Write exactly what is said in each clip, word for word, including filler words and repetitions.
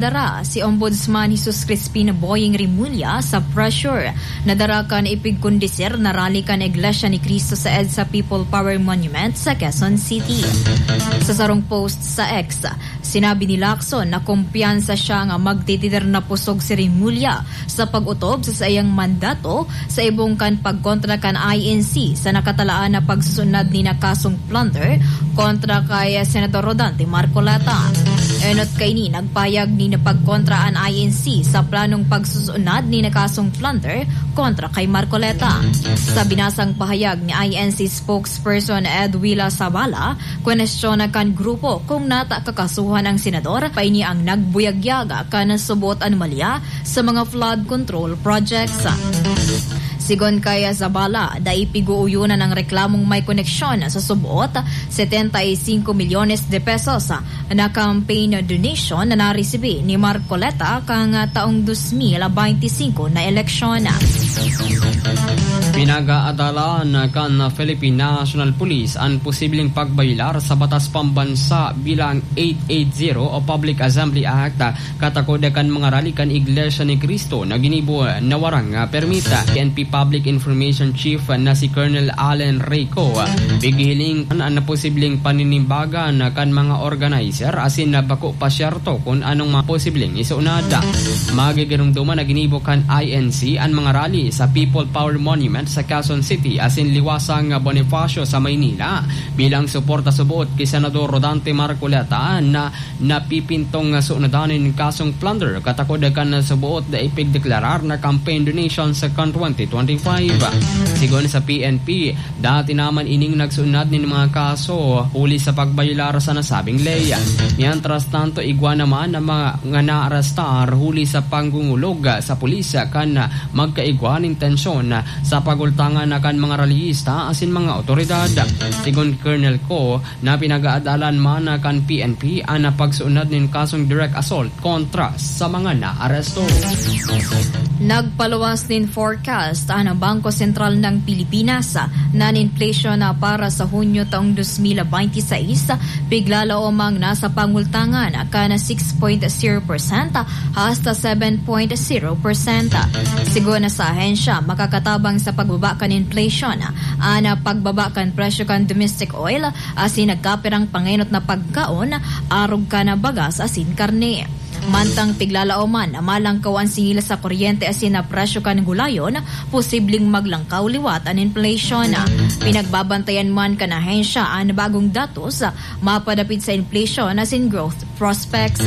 Dara si Ombudsman Jesus Crispin Boying Remulla sa pressure na dara kan ipigkondisir na rally kan Iglesia ni Cristo sa EDSA People Power Monument sa Quezon City. Sa sarong post sa X, sinabi ni Lacson na kumpiyansa siya nga magtitider na pusog si Remulla sa pag-otob sa saiyang mandato sa ibong kan pagkontra kan I N C sa nakatalaan na pagsusunod ni na kasong plunder kontra kay Senador Rodante Marcoleta. Enot kaini, nagpahayag ni na pagkontra an I N C sa planong pagsusunod ni na kasong plunder kontra kay Marcoleta. Sa binasang pahayag ni I N C spokesperson Edwila Sabala, kwenestyon na kan grupo kung nata kakasuhan ang senador, paini ang nagbuyagyag kan subot anomalya sa mga flood control projects. Sigon kay Zabala, dai pig-uuyonan ang reklamong may koneksyon sa subot setenta y cinco milyones de pesos na campaign donation na naresibi ni Marcoleta kan taong dos mil benti singko na eleksyon. Pinag-aadalan kan Philippine National Police an posibleng pagbayolar sa batas pambansa bilang eight eight zero o Public Assembly Act katakod kan mga rally kan Iglesia ni Cristo na ginibo na warang, ah, permit. P N P Public Information Chief na si Colonel Allen Reyco, ah, pighihiling an, an posibleng paninimbagan kan mga organizer asin na bako pa siyerto kun anong mga posibleng isunod. Magigiromdoman na ginibo kan I N C an mga rally sa People Power Monument sa Quezon City asin Liwasang Bonifacio sa Maynila bilang suporta subot ki Senador Rodante Marcoleta na napipintong sunodan nin kasong plunder katakod kan suboot na ipigdeklarar na campaign donation sa kan twenty twenty-five. Sigon sa P N P, dati naman ining nagsunod nin mga kaso huli sa pagbayolar sa nasabing ley. Mientras tanto, igwa naman ang mga nga naarestar huli sa panggungulog sa pulis kan magkaigwa nin tensyon sa pagultangan na kan mga rallyista asin mga otoridad. Sigon Colonel Co, na pinag-aadalan man kan P N P an pagsuunad nin kasong direct assault kontra sa mga naaresto. Nagpaluwas nin forecast an Bangko Sentral ng Pilipinas na an inflation na para sa Hunyo taong dos mil benti sais piglalaomang nasa pangultangan kan six point zero percent hasta seven point zero percent. Sigon sa ahensya, makakatabang sa pagbaba kan inflation an pagbaba kan presyo kan domestic oil asin nagkapirang pangenot na pagkaon, arog kan bagas asin karne. Mantang piglalaoman na malangkaw an singil sa kuryente asin na presyo kan gulayon, posibleng maglangkaw liwat an inflation. Pinagbabantayan man kan ahensya an bagong datos mapadapit sa inflation asin growth prospects.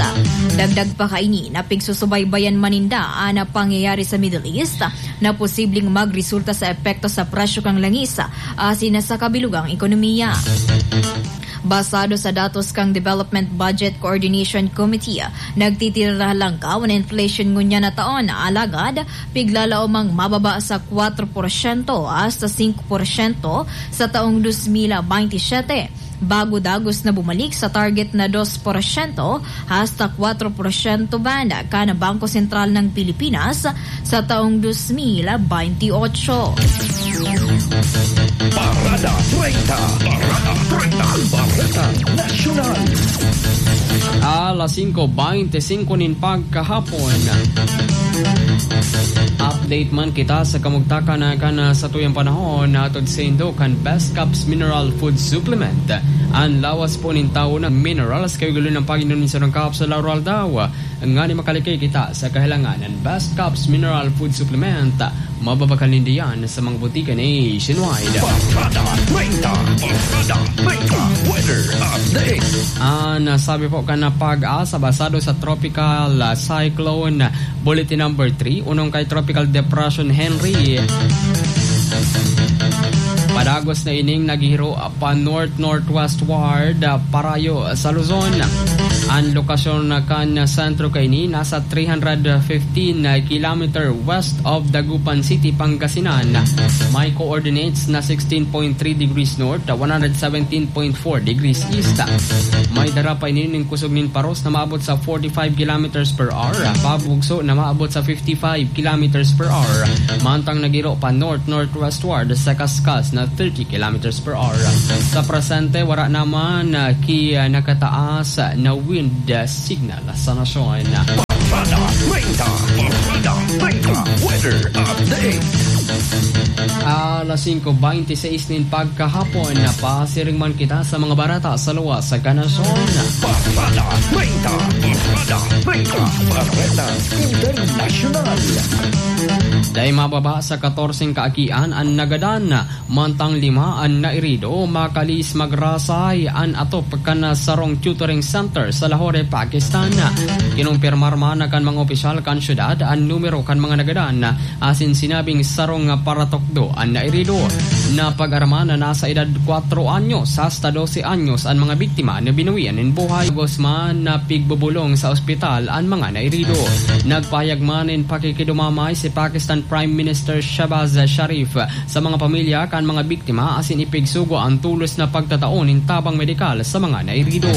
Dagdag pa kaini na pigsusubaybayan man ninda an pangyayari sa Middle East na posibleng magresulta sa epekto sa presyo kan langis asin sa kabilugang ekonomiya. Basado sa datos kan Development Budget Coordination Committee, nagtitira langkaw an inflation ngunyan na taon, alagad piglalaomang mababa sa kwatro porsyento hasta singko porsyento sa taong dos mil benti siyete, bago dagos na bumalik sa target na dos porsyento hasta kwatro porsyento band kan Bangko Sentral ng Pilipinas sa taong dos mil benti otso. Parada treinta. Parada treinta. Ang Bareta Nasyonal. Alas singko benti singko nin pagkahapon. Update man kita sa kamugtakan na kan, ah, satuyang panahon na hatod saindo kan Best Caps Mineral Food Supplement. An lawas po nin tawo ng minerals, kayo galo ng pag-inom nin sarong kapsula aldaw-aldaw. Ngani makalikay kita sa kahilangan ng Best Caps Mineral Food Supplement. Mababakal ninda yan sa mga butika nationwide. Barkada treinta. Barkada treinta. Weather update. An sabi po kan PAGASA, basado sa Tropical, ah, Cyclone Bulletin Number Three, unong kay Tropical Depression Henri. Padagos na ining naghihiro pa north-northwestward, ah, parayo sa Luzon. An lokasyon na kan sentro kaini nasa three hundred fifteen kilometer west of Dagupan City, Pangasinan. May coordinates na sixteen point three degrees north, one hundred seventeen point four degrees east. May dara pa ini nin kusog nin paros na maabot sa forty-five kilometers per hour, pabugso na maabot sa fifty-five kilometers per hour, mantang naghiro pa north-northwestward sa kaskas na thirty kilometers per hour. Sa presente, wara naman, ah, ki, ah, nakataas na wind, ah, signal sa nasyon. Barkada treinta, Barkada treinta, weather update. Alas singko bente seis nin pagkahapon, napasiring man kita sa mga bareta sa luwas sa kanasyon. Barkada treinta, Barkada treinta, Bareta Internasyonal. Dai mababa sa katorseng kaagian an nagadan. Mantang lima an nairido, makalis magrasay an atop kan sarong tutoring center sa Lahore, Pakistan. Kinumpirmar man kan mga opisyal kan syudad an numero kan mga nagadan, asin sinabing sarong paratukdo an nairido. Napag-araman na nasa edad kwatro anyos hasta dose anyos an mga biktima na binuwian nin buhay. Gusman na pigbubolong sa ospital an mga nairido. Nagpahayag man nin pakikidumamay si Pakistan Prime Minister Shehbaz Sharif sa mga pamilya kan mga biktima asin ipigsugo an tolos na pagtatao nin tabang medikal sa mga nairido.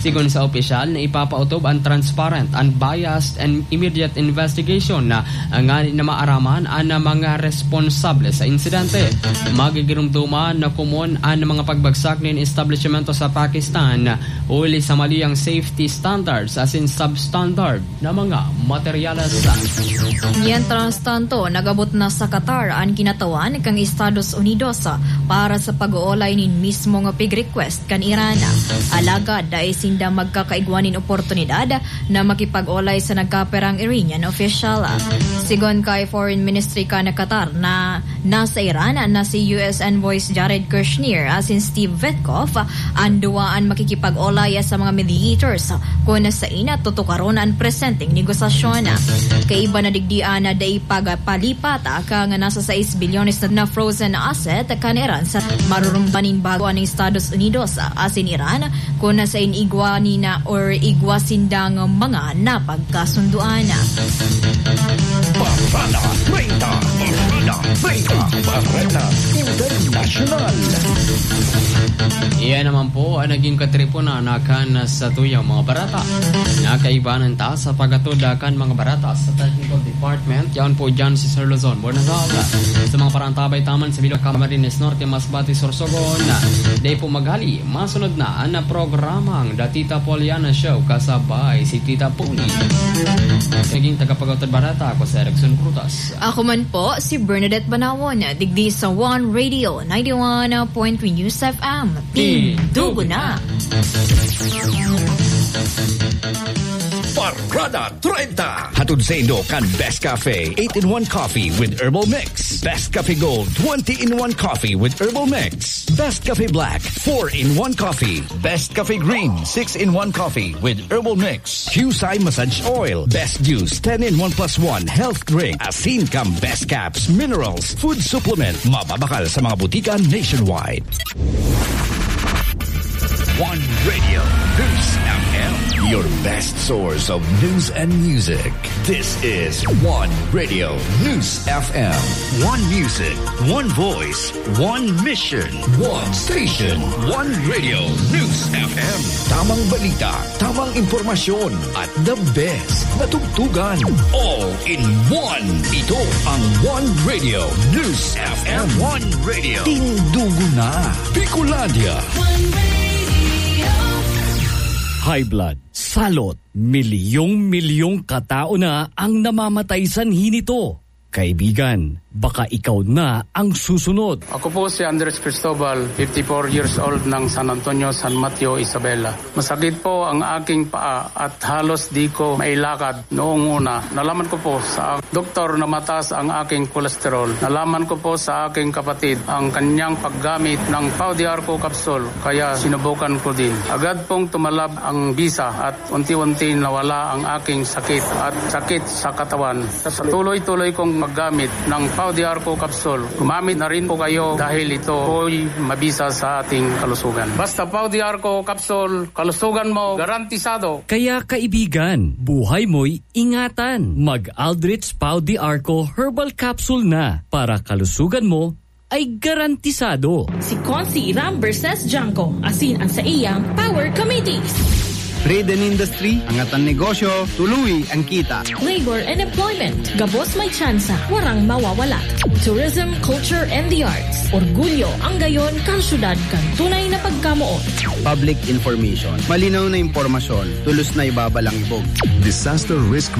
Sigon sa opisyal na ipapaotob an transparent, unbiased and immediate investigation na ngani na maaraman an mga responsable sa insidente. Magigiromdoman na komon an mga pagbagsak nin establishmento sa Pakistan huli sa mali ang safety standards asin substandard na mga materyales. Mientras tanto, nag-abot na sa Qatar an kinatawan kan Estados Unidos para sa pag-oolay nin mismong pig-request kan Iran. Alagad dai sinda magkakaigwa nin oportunidad na makipag-olay sa nagkaperang Iranian official. Sigon kay Foreign Ministry kan Qatar na nasa Iran na si U S Envoys Jared Kushner asin Steve Witkoff, an duwa an makikipag-olay sa mga mediators kun sain tutukaron an presenteng negosasyon. Kaiba na digdi an dai pagpalipat kan nasa sais bilyones na frozen asset kan Iran sa marurumbanin bago an Estados Unidos asin Iran kun sain igwa nina or igwa sindang mga napagkasunduan. Barkada treinta, Barkada treinta, Barkada Internasyonal. Iyan naman po ang naging katripunan na kan sa tuyang mga barata. Nakaibanan ta sa pagkatuda kan mga barata sa technical department. Yaon po dyan si Sir Luzon Bornazal. Sa mga parantabay taman sa Bilog, Camarines Norte, Masbate, Sorsogon. Dai po maghali, masunod na ang programang The Tita Poliana Show kasabay si Tita Poli. Naging tagapagawtod barata ako si Erickson Prutas. Ako man po, si Bernadette Banawon, digdi sa One Radio, ninety-one point three News F M. Tindugo na! Barkada treinta. Hatod saindo kan Best Cafe, eight-in-one Coffee with Herbal Mix. Best Cafe Gold, twenty-in-one Coffee with Herbal Mix. Best Cafe Black, four-in-one Coffee. Best Cafe Green, six-in-one Coffee with Herbal Mix. Qcye Massage Oil, Best Juice, ten-in-one plus one Health Drink. Asin kan Best Caps, Minerals, Food Supplement. Mababakal sa mga butika nationwide. One Radio News F M, your best source of news and music. This is One Radio News F M. One music, one voice, one mission, one station. One Radio News F M. Tamang balita, tamang impormasyon, at the best na tugtugan. All in one. Ito ang One Radio News F M. One Radio. Tindugo na. Bicolandia. One Radio. High blood, salot, milyong-milyong katao na ang namamatay sanhi nito. Kaibigan, baka ikaw na ang susunod. Ako po si Andres Cristobal, fifty-four years old ng San Antonio, San Mateo, Isabela. Masakit po ang aking paa at halos di ko mailakad noong una. Nalaman ko po sa doktor na mataas ang aking kolesterol. Nalaman ko po sa aking kapatid ang kanyang paggamit ng Pau de Arco capsule, kaya sinubukan ko din. Agad pong tumalab ang bisa at unti-unti nawala ang aking sakit at sakit sa katawan. Sa tuloy-tuloy kong paggamit ng Pau de Arco capsule, gumamit na rin po kayo dahil ito po'y mabisa sa ating kalusugan. Basta Pau de Arco capsule, kalusugan mo garantisado. Kaya kaibigan, buhay mo'y ingatan. Mag Aldrich Pau de Arco Herbal Capsule na para kalusugan mo ay garantisado. Si Consi Ram versus Janko, asin ang saiyang Power Committee. Trade and Industry, Angatan Negosyo, Tuluy ang Kita. Labor and Employment, gabos may tsansa, warang mawawala. Tourism, Culture and the Arts, orgulyo ang gayon kan syudad kan tunay na pagkamoot. Public Information, malinaw na impormasyon, tulos na ibabalangibog. Disaster Risk